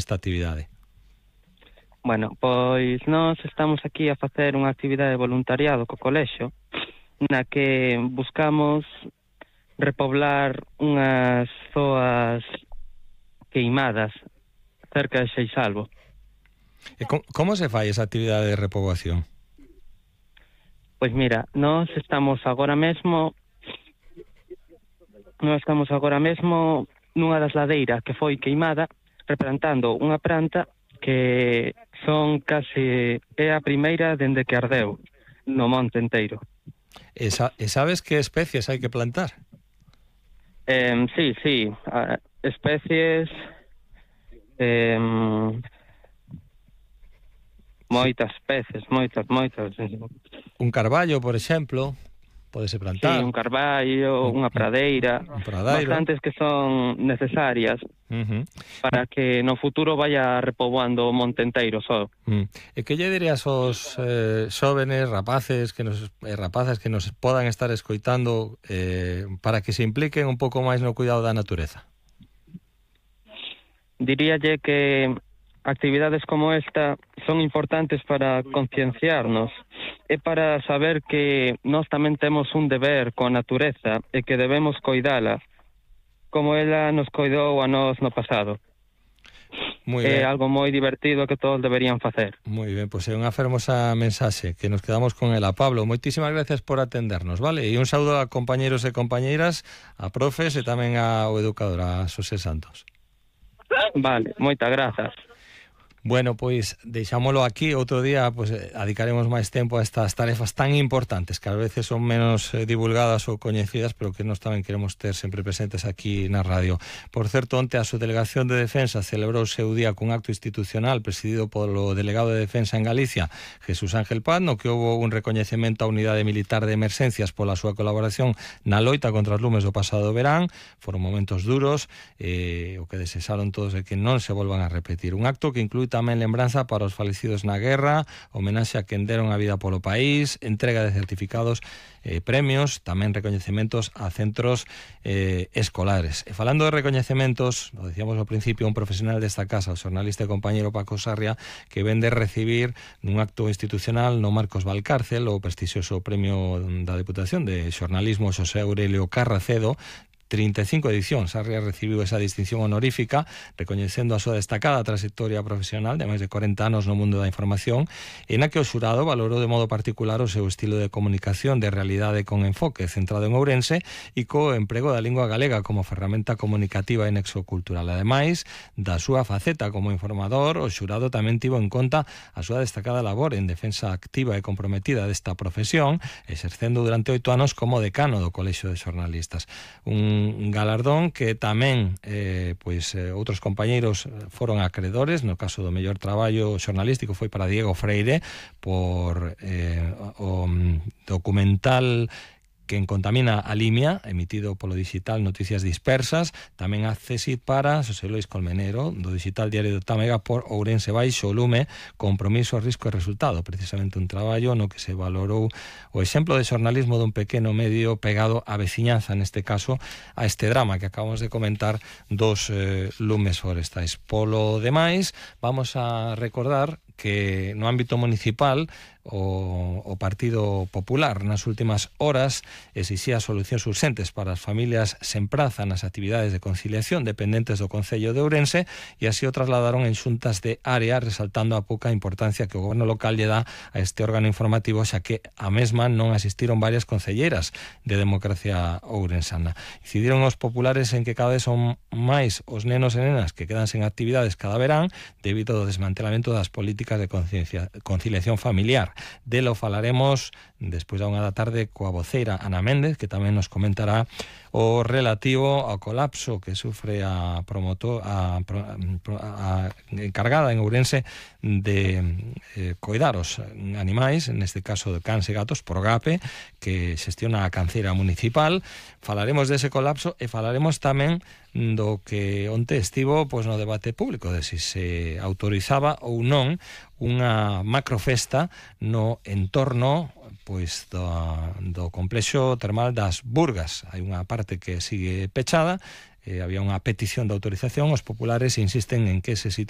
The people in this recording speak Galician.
esta actividade? Bueno, pois nós estamos aquí a facer unha actividade de voluntariado co colexio na que buscamos repoblar unhas zoas queimadas cerca de Seixalbo. E como se fai esa actividade de repoboación? Pois mira, nós estamos agora mesmo nunha das ladeiras que foi queimada, replantando unha planta que son case é a primeira dende que ardeu no monte enteiro. E sabes que especies hai que plantar? Sí, especies, moitas especies, moitas. Un carballo, por exemplo, podese plantar. Sí, un carballo, unha pradeira, bastantes que son necesarias para que no futuro vaya repoboando o monte enteiro só. E que lle dirías aos xóvenes, rapazas que nos podan estar escoitando para que se impliquen un pouco máis no cuidado da natureza? Diríalle que actividades como esta son importantes para concienciarnos e para saber que nós tamén temos un deber coa natureza e que debemos coidala como ela nos coidou a nós no pasado. É algo moi divertido que todos deberían facer. Moi ben, pois é unha fermosa mensaxe que nos quedamos con ela. Pablo, moitísimas gracias por atendernos, vale? E un saúdo a compañeros e compañeiras, a profes e tamén ao educador, a Xosé Santos. Vale, moitas grazas. Bueno, pois deixámolo aquí. Outro día pois dedicaremos máis tempo a estas tarefas tan importantes que a veces son menos divulgadas ou coñecidas, pero que nós tamén queremos ter sempre presentes aquí na radio. Por certo, onte a Subdelegación de Defensa celebrou o seu día cun acto institucional presidido polo delegado de Defensa en Galicia, Jesús Ángel Paz, no que houve un recoñecemento á Unidade Militar de Emerxencias pola súa colaboración na loita contra os lumes do pasado verán. Foron momentos duros, o que desexaron todos é que non se volvan a repetir. Un acto que inclúe tamén lembranza para os falecidos na guerra, homenaxe a quen deron a vida polo país, entrega de certificados, premios, tamén recoñecementos a centros escolares. E falando de recoñecementos, lo decíamos ao principio, un profesional desta casa, o xornalista e compañeiro Paco Sarria, que ven de recibir nun acto institucional no Marcos Valcárcel o prestixioso premio da Deputación de Xornalismo Xosé Aurelio Carracedo, 35 edicións. Sarria recibiu esa distinción honorífica recoñecendo a súa destacada trayectoria profesional de máis de 40 anos no mundo da información, e na que o xurado valorou de modo particular o seu estilo de comunicación de realidade con enfoque centrado en Ourense e co emprego da lingua galega como ferramenta comunicativa e nexo cultural. Ademais da súa faceta como informador, o xurado tamén tivo en conta a súa destacada labor en defensa activa e comprometida desta profesión, exercendo durante 8 anos como decano do Colexio de Xornalistas. Un galardón que tamén outros compañeiros foron acreedores. No caso do mellor traballo xornalístico foi para Diego Freire por o documental Quen contamina a Limia, emitido polo digital Noticias Dispersas. Tamén a CSIC para Xosé Luis Colmenero, do digital Diario de Tâmega, por Ourense baixo o lume, compromiso, risco e resultado. Precisamente un traballo no que se valorou o exemplo de xornalismo dun pequeno medio pegado á veciñanza, neste caso a este drama que acabamos de comentar dos lumes forestais. Polo demais, vamos a recordar que no ámbito municipal o Partido Popular nas últimas horas exixía solucións urxentes para as familias sen praza nas actividades de conciliación dependentes do Concello de Ourense, e así o trasladaron en xuntas de área, resaltando a pouca importancia que o goberno local lle dá a este órgano informativo, xa que a mesma non asistiron varias concelleiras de Democracia Ourensana. Incidiron os populares en que cada vez son máis os nenos e nenas que quedan sen actividades cada verán debido ao desmantelamento das políticas de conciliación familiar. Delo falaremos despois da 1 da tarde coa voceira Ana Méndez, que tamén nos comentará o relativo ao colapso que sufre a encargada en Ourense de coidar os animais, neste caso de cans e gatos, por GAPE, que xestiona a canceira municipal. Falaremos dese colapso e falaremos tamén do que onte estivo no debate público de se autorizaba ou non unha macrofesta no entorno do complexo termal das Burgas. Hai unha parte que sigue pechada, había unha petición de autorización. Os populares insisten en que ese sitio